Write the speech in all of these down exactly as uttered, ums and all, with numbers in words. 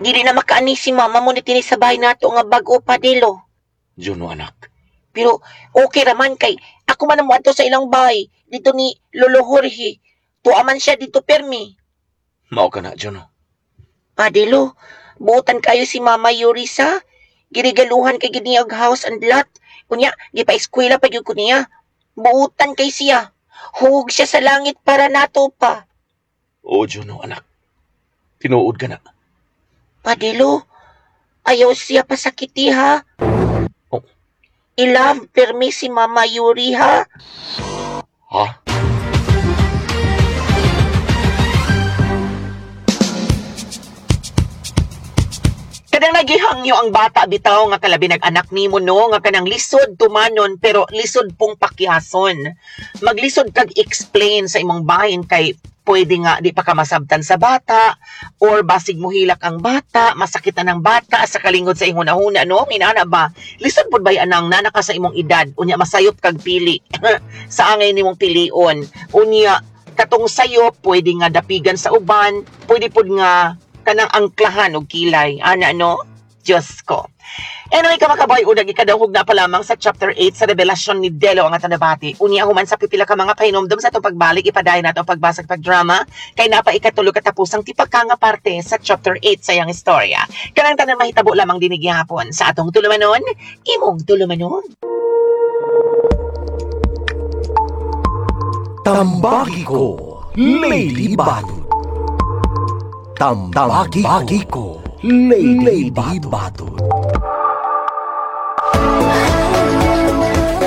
Dili na makaani si mama mo ni dinhi sa bahay nato nga bag-o, Padelo. Juno, anak. Pero okay raman kay ako man ang moadto sa ilang bahay dito ni Lolo Jorge. Tuwa man siya dito permi. Mao ka na, Juno. Padelo, buotan kayo si Mama Yuri sa girigaluhan kay gid niya og house and lot. Unya, gipa-eskwela pa gyud ko niya. Buotan kay siya. Hug siya sa langit para nato pa. Oo, Juno, anak. Tinuod ka na. Padelo, ayaw siya pasakiti ha. Oh. I-love permi si Mama Yuri ha. Ha? Kanang nagihangyo ang bata bitaw nga kalabi nag-anak nimo no nga kanang lisod tumanon pero lisod pong pakihason. Maglisod kag explain sa imong bahin kay pwede nga di pa ka masabtan sa bata or basig mohilak ang bata, masakitan ang bata sa kalingod sa imong hunahuna no. Inana ba? Lisod pud bay anang nana ka sa imong edad unya masayop kag pili sa angay nimong pilion. Unya katong sayop pwede nga dapigan sa uban, pwede pud nga kanang angklahan og kilay. Ana no? Diyos ko. Anyway, kamakaboy, unang ikadawhog na pa lamang sa chapter eight sa revelasyon ni Delo ang Atanabati. Unya human sa pipila ka mga pahinomdom sa atong pagbalik, ipadayon nato ang pagbasag pagdrama, kay napa ikatulo katapusang tipaka nga parte sa chapter eight sa iyang istorya. Kanang tanan mahitabo lamang dinhi gihapon sa atong tulumanon, imong tulumanon. Tambagi ko, Lady Batud. Tambagi ko, Lady Batud.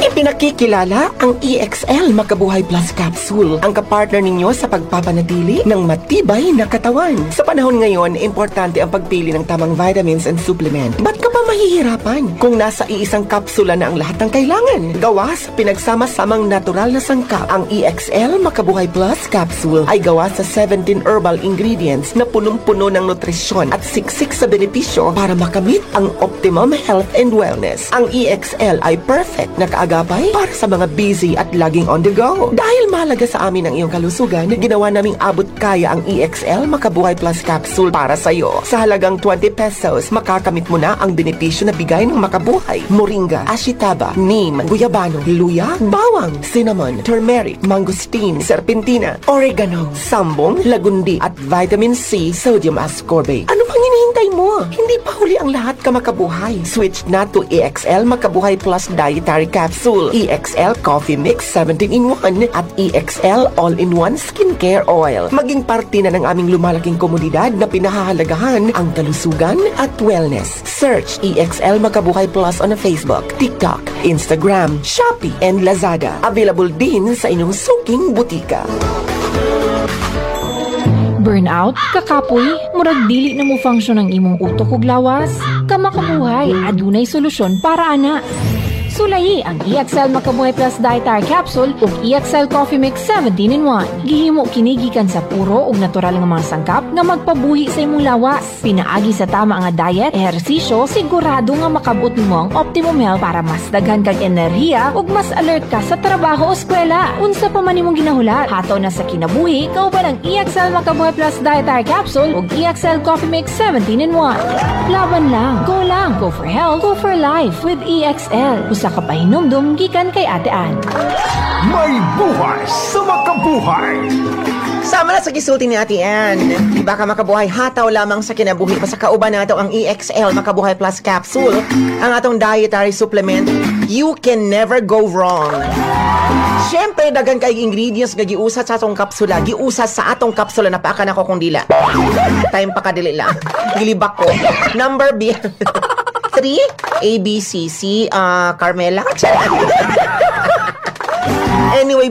Ipinakikilala ang E X L Makabuhay Plus Capsule, ang kapartner ninyo sa pagpapanatili ng matibay na katawan. Sa panahon ngayon, importante ang pagpili ng tamang vitamins and supplement. Ba't ka pa mahihirapan kung nasa iisang kapsula na ang lahat ng kailangan? Gawa sa pinagsama-samang natural na sangkap, ang E X L Makabuhay Plus Capsule ay gawa sa seventeen herbal ingredients na punong-puno ng nutrisyon at siksik sa benepisyo para makamit ang optimum health and wellness. Ang E X L ay perfect na kaagapay para sa mga busy at laging on the go. Dahil mahalaga sa amin ang iyong kalusugan, ginawa naming abot kaya ang E X L Makabuhay Plus Capsule para sa iyo. Sa halagang twenty pesos, makakamit mo na ang benepisyo na bigay ng Makabuhay. Moringa, ashitaba, neem, guyabano, luya, bawang, cinnamon, turmeric, mangosteen, serpentina, oregano, sambong, lagundi, at vitamin C, sodium ascorbate. Ano pang hinihintay mo? Hindi pa huli ang lahat ka makabuhay. Switch na to E X L Makabuhay Plus Dietary Capsule, E X L Coffee Mix seventeen in one at E X L All-in-One Skincare Oil. Maging parte na ng aming lumalaking komunidad na pinahahalagahan ang kalusugan at wellness. Search E X L Makabuhay Plus on Facebook, TikTok, Instagram, Shopee, and Lazada. Available din sa inyong suking butika. Burnout, kakapoy, murag dili na mo function ang imong utok ug lawas. Kamakabuhay, adunay solusyon para ana. Sulayi ang E X L Makabuhay Plus Dietary Capsule ug E X L Coffee Mix seventeen in one. Gihimo kini gikan sa puro ug natural nga mga sangkap nga magpabuhi sa imong lawas. Pinaagi sa tama nga diet, ehersisyo, sigurado nga makabot nimo ang optimum health para mas daghan kag enerhiya ug mas alert ka sa trabaho o eskwela. Unsa pa man imong ginahulat, hataw na sa kinabuhi kauban ang E X L Makabuhay Plus Dietary Capsule ug E X L Coffee Mix seventeen in one. Laban lang, go lang, go for health, go for life with E X L. Usa ka pahinumdum gikan kay Ate Ann. May buhay sa makabuhay. Sama na sa gisulti ni Ate Ann. Di ba ka makabuhay, hataw lamang sa kinabuhi. Basta kauban nato ang E X L Makabuhay Plus Capsule, ang atong dietary supplement. You can never go wrong. Siyempre, daghan kay ingredients nga giusa sa atong kapsula. Giusa sa atong kapsula. Napaka na ko kung dila. Time pa kadili lang. Gilibak ko. Number B. three, A, B, C, C, ah, Carmela. Anyway,